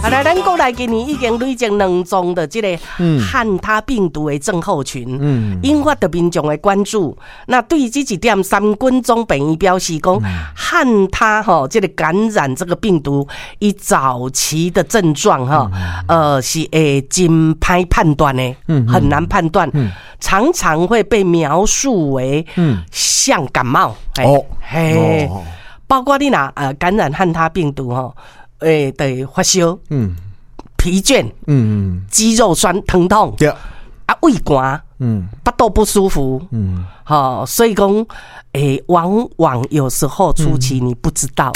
好來，咱國內今年已經累積兩宗的這個漢他病毒的症候群，引發著民眾的關注。那對於這一點，三軍總病院表示講，漢他吼這個感染這個病毒，伊早期的症狀哈，是會真歹判斷的，很難判斷，常常會被描述為像感冒。哦，嘿，包括你若感染漢他病毒吼。欸，對，發燒，疲倦，肌肉酸疼痛，對，啊，胃寒，腹肚不舒服，好，所以講，欸，往往有時候初期你不知道，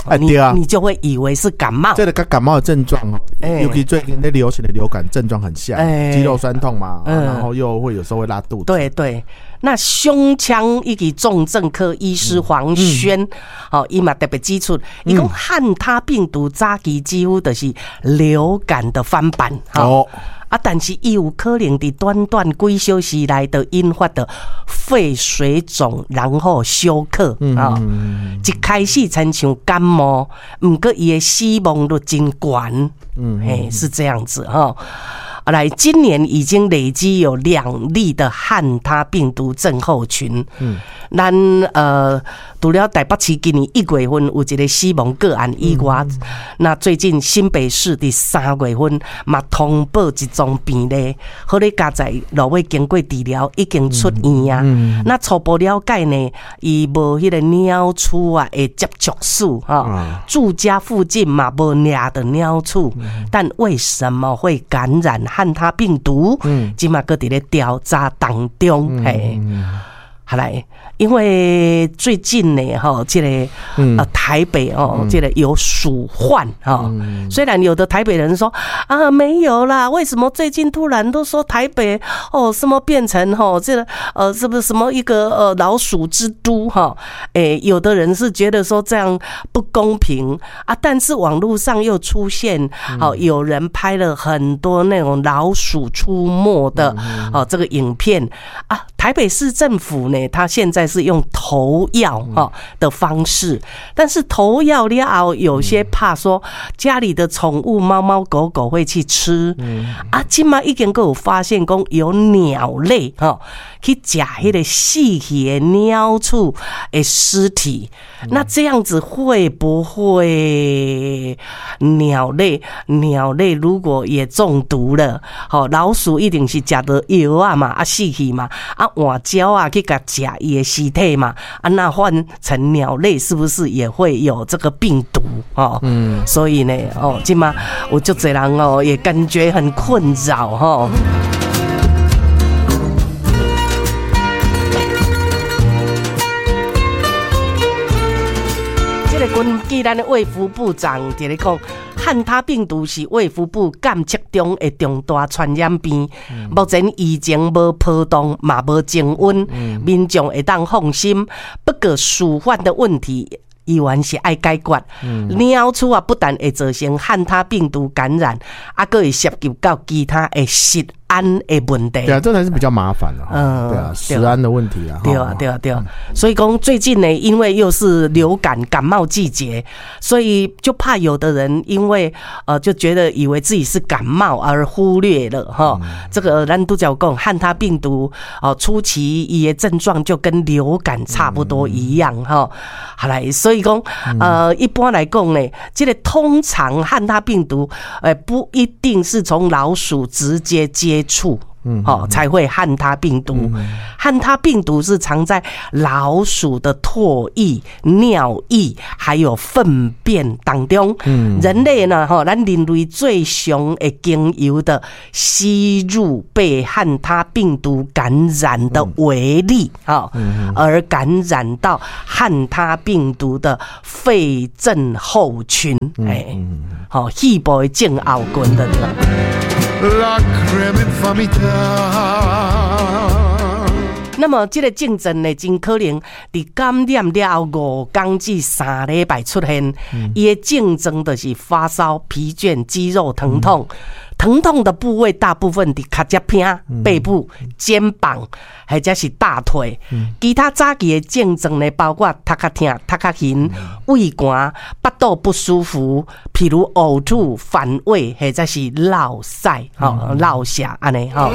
你就會以為是感冒。這個佮感冒的症狀哦，尤其最近咧流行的流感症狀很像，肌肉酸痛嘛，然後又會有時候會拉肚子。對對。那胸腔以及重症科醫師黃軒，哦，伊嘛特別指出，伊講漢他病毒早期幾乎就是流感的翻版，哦，啊，但是伊有可能佇短短幾小時內就引發著肺水腫，然後休克，啊，一開始親像感冒，毋過伊的死亡率真懸，嘿，是這樣子吼。來，今年已經累積有2例的漢他病毒症候群。咱除了台北市今年1月份有一個死亡個案以外，那最近新北市佇3月份嘛通報一宗病例，好咧，佳哉落尾經過治療已經出院啊。那初步了解呢，伊無彼個鳥鼠啊的接觸史吼，住家附近嘛無掠著鳥鼠，但為什麼會感染漢他病毒？這嘛閣佇咧調查當中，嘿。好來，因為最近呢，吼，這個台北哦，這個有鼠患哈。雖然有的台北人說啊沒有啦，為什麼最近突然都說台北哦什麼變成吼這個是不是什麼一個老鼠之都哈？欸，有的人是覺得說這樣不公平啊，但是網絡上又出現哦有人拍了很多那種老鼠出沒的哦這個影片啊。台北市政府呢，他現在是用投藥哈的方式，但是投藥了後，有些怕說家裡的寵物貓貓狗狗會去吃，啊，這馬已經閣有發現講有鳥類哈去食彼個死去的鳥鼠的屍體，那這樣子會不會鳥類？鳥類如果也中毒了，吼，老鼠一定是食著藥啊嘛，啊死去嘛，啊換鳥仔去共食伊的屍體嘛，啊那換成鳥類是不是也會有這個病毒？哦，所以呢，哦，這馬有足濟人哦，也感覺很困擾吼。這個根據咱的衛福部長佇咧講，漢他病毒是衛福部監測中的重大傳染病。目前疫情無波動，嘛無增溫，民眾會當放心。不過鼠患的問題依然是愛解決。鳥鼠啊，不但會造成漢他病毒感染，啊，閣會涉及到其他的食安的問題。對啊，這才是比較麻煩的。對啊，食安的問題啊。對啊，對啊，對啊。所以講最近呢，因為又是流感感冒季節，所以就怕有的人因為就覺得以為自己是感冒而忽略了哈。這個咱拄才有講漢他病毒哦，初期伊的症狀就跟流感差不多一樣哈。好來，所以講一般來講呢，這個通常漢他病毒不一定是從老鼠直接接觸，哦，才會漢他病毒。漢他病毒是藏在老鼠的唾液、尿液還有糞便當中。人類呢，吼，咱人類最常會經由的吸入被漢他病毒感染的微粒，而感染到漢他病毒的肺症候群，哎，好，肺部的症候群的。那麼這個症狀呢，真可能佇感染了後5天至3禮拜出現。伊的症狀就是發燒、疲倦、肌肉疼痛。疼痛的部位大部分佇尻脊骿、背部、肩膀，或者是大腿。其他早期的症狀呢，包括頭殼疼、頭殼眩、畏寒、腹肚不舒服，譬如嘔吐、反胃，或者是落屎、吼落瀉按呢吼。